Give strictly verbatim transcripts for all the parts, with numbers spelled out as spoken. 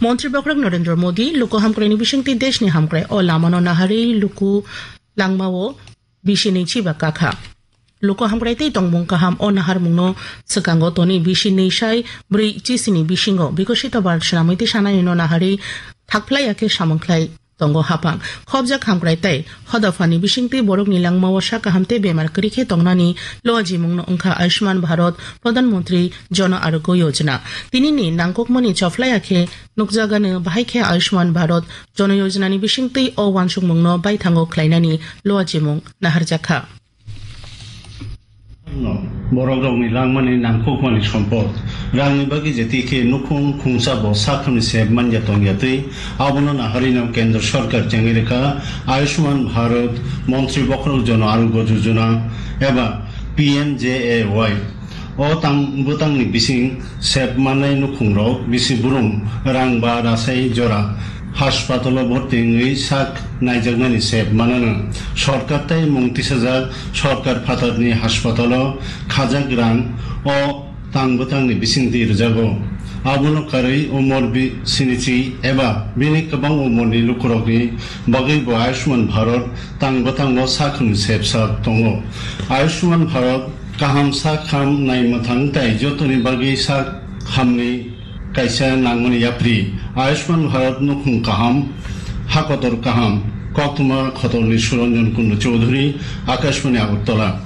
Montri Bokhorok Narendra Modi luku hamkraini bisingtwi deshni hamkrai o lamano naharwi luku langmao bisi nwi chiba kakha. Luku hamkrai tei tongmung kaham o naharmungno swkango tonwi bisi nwi sai bwrwi chisini bisingo Bikosito Bharat swnamwi tei sananino naharwi thakphlaiya khe samung khlai tongo haphang. Khobjak hamkrai tei hodaphani bisingtwi borokni langmao sak kaham tei bemar kwrwi khe tongnani luajimungno wngkha Ayushman Bharat Pradhan Mantri Jan Arogya Yojana. Tinini nangkukmani chophlaiya khe nukjagano bahai khe Ayushman Bharat Jan Yojanani bisingtwi o uansukmungno baithango khlainani luajimung naharjakha. Borok rokni langmani nangkukmani sompot. Rangni bagwi jeti khe nukhung khungsa bo sakhamni sep manya tongya twi, abono naharino Kendra Sarkar chengwi rwkha Ayushman Bharat Montri Bokhorok Jan Arogya Yojana eba P M J A Y. O tang bwtangni bising sep manai nukhungrok bisi burum rang ba rasai jora haspatalo bhorti wngwi sak naijaknani sep manano. Sorkar tei mung tisajak sorkar phatarni haspatalo khajak rang o tang bwtangni bisingtwi rwjago. Abono karwi umor bi-, sinichi eba bini kwbang umorni lukurokni bagwi bo Ayushman Bharat tang bwtango sakham sepsa tongo. Ayushman Bharat kaham sakham naimwthang tei jotoni bagwi sak hamni kaisa nangmani yapri. Ayushman Bharat nukhung kaham, hakotor kaham, koktwma khotorni Suranjan Kundu Chowdhury, Akashbani Agartala.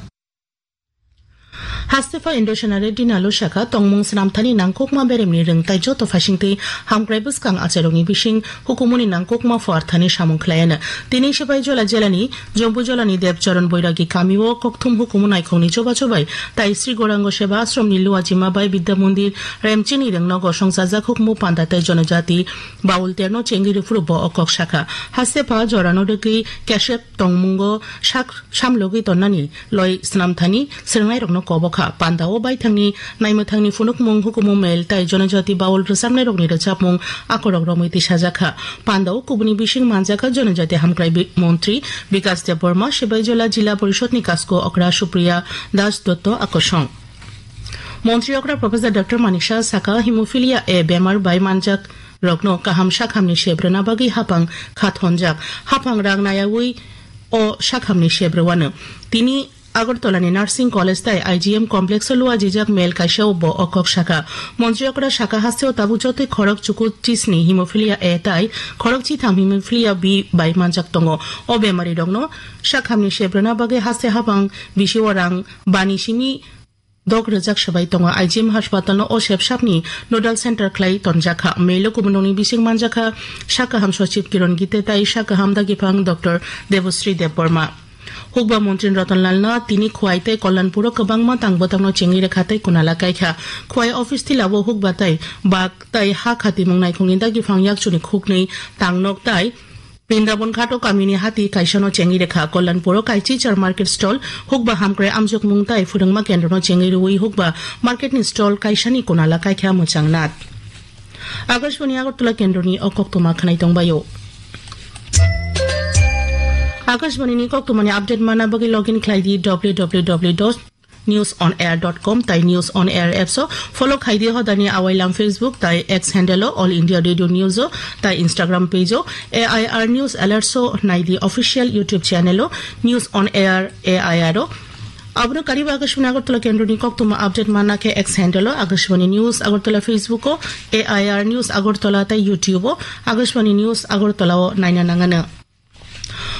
Hastepha Indrasena Reddy Nalu sakha, tongmung swnamthani nangkukma beremni rwngthai joto phaisingtwi hamkrai bwskang achairokni bising hukumuni nangkukma phuarthani samung khlaiano. Tini Sipaijala jelani Jombujolani Debcharan Boiragi kamio kokthum hukumu naikhokni chubachu bai tai Sri Gaurango Seva Ashramni luajima bai Bidya Mandir Remchini rwngno gosong chajak hukumu panda tei jonojati baul terno chengwi rwphuru bo o kok sakha. Hastepha jorano rwgwi kesep tongmungo sak samlogwi tonnani loi swnamthani swrwngnairokno kobokha. Pandao baithangni naimwthangni phunukmung hukumu mel tai jonojati baul rwchapnairokni rwchapmung akorok romwi tisajakha. Pandao kubuni bising manjakha jonojati hamkrai bi-, montri Bikas Debbarma, Sibaijala Jila Porishadni Kasko Okra Supriya Das Dotto akosong. Montri okra Professor Doctor Manik Saha sakha, hemophilia A bemar bai manjak rokno kaham sakhamni sep rwna bagwi haphang kha thonjak. Haphang rang nayaui o sakhamni sep rwano. Tini Agartala ni Nursing College tai I G M Complex o luajijak mel kaisa o bo o kok sakha. Montri okra sakha, hasteo tabuk jotoi khorok chuku chisni hemophilia A tai khorok chitham hemophilia B bai manjak tongo. O bemari rokno sakhamni sep rwna bagwi haste haphang bisi o rang bani simi dok rwjak swbai tongo. I G M haspatalno o sepsapni nodal center khlai tonjakha. Melo kubunokni bising manjakha sak kaham Sachib Kiron Gite tai sak kaham dagiphang Doctor Debasri Debbarma. Hukba Montri Ratan Lalno tini Khwai tei Kalyanpuro kwbangma tang bwtangno chengwi rwkha tei kunala kaikha. Khwai office tilao hukba tai bak tai ha khatimung naikhungni dagiphang yakchuni khuknwi tangnok tai Brindaban Ghato kamini hati kaisano chengwi rwkha. Kalyanpuro kaichi char market stall, hukba hamkrai amjokmung tai phwrwngma kendrono chengwi rwui hukba marketni stall kaisani kunala kaikha mwchang nat. Akashbani Agartala kendroni o koktwma khwnai tongbaio. Akashbani ni koktwmani update mana bagwi login khlai di W W W dot news on air dot com tai News on Air apps o follow khai di. Hodani awailam Facebook tai X handle o All India Radio News o tai Instagram page o A I R News Alerts o nai di official YouTube channel o News on Air A I R o. Abono kariba Akashbani Agartala kendroni koktwma update mana khe X handle o Akashbani News Agartala, Facebook o A I R News Agartala tai YouTube o Akashbani News Agartala o naina nangano.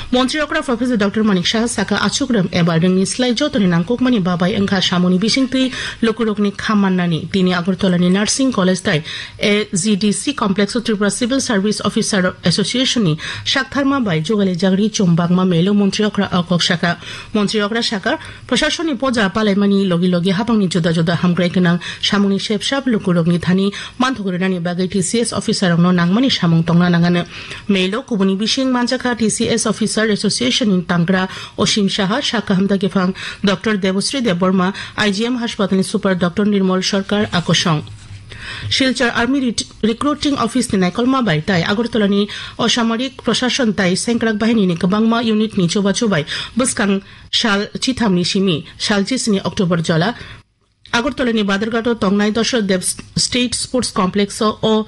Montri okra Professor Doctor Manik Saha sakha, achukrem eba rwngni slai jotoni nangkukmani babai wngkha samungni bisingtwi lukurokni kha mannani. Tini Agartala ni Nursing College tai A G D C Complex o Tripura Civil Service Officer Association ni saktharma bai jugali jagri chum bagma melo montri okra o kok sakha. Montri okra sakha, Prasasonni poja palaimani logi logi habangni juda juda hamkrai gwnang samungni sepsap lukurokni thani manthok rwnani bagwi T C S officer rokno nangmani samung tongna nangano. Melo kubuni bising manjakha T C S Officer Association ni tangra Osim Saha, sak kaham dagiphang Doctor Debasri Debbarma, I G M Haspatal ni Super Doctor Nirmal Sarkar akosong. Silchar Army Ret-, Recruiting Office ni naikolma bai tai Agartala ni Osamarik Prashasan tai Sengkrak Bahini ni kwbangma unit ni chubachu bai bwskang sal chitham ni simi sal chisni October jora Agartala ni Badharghat o tongnai Dashrath Dev State Sports Complex o, o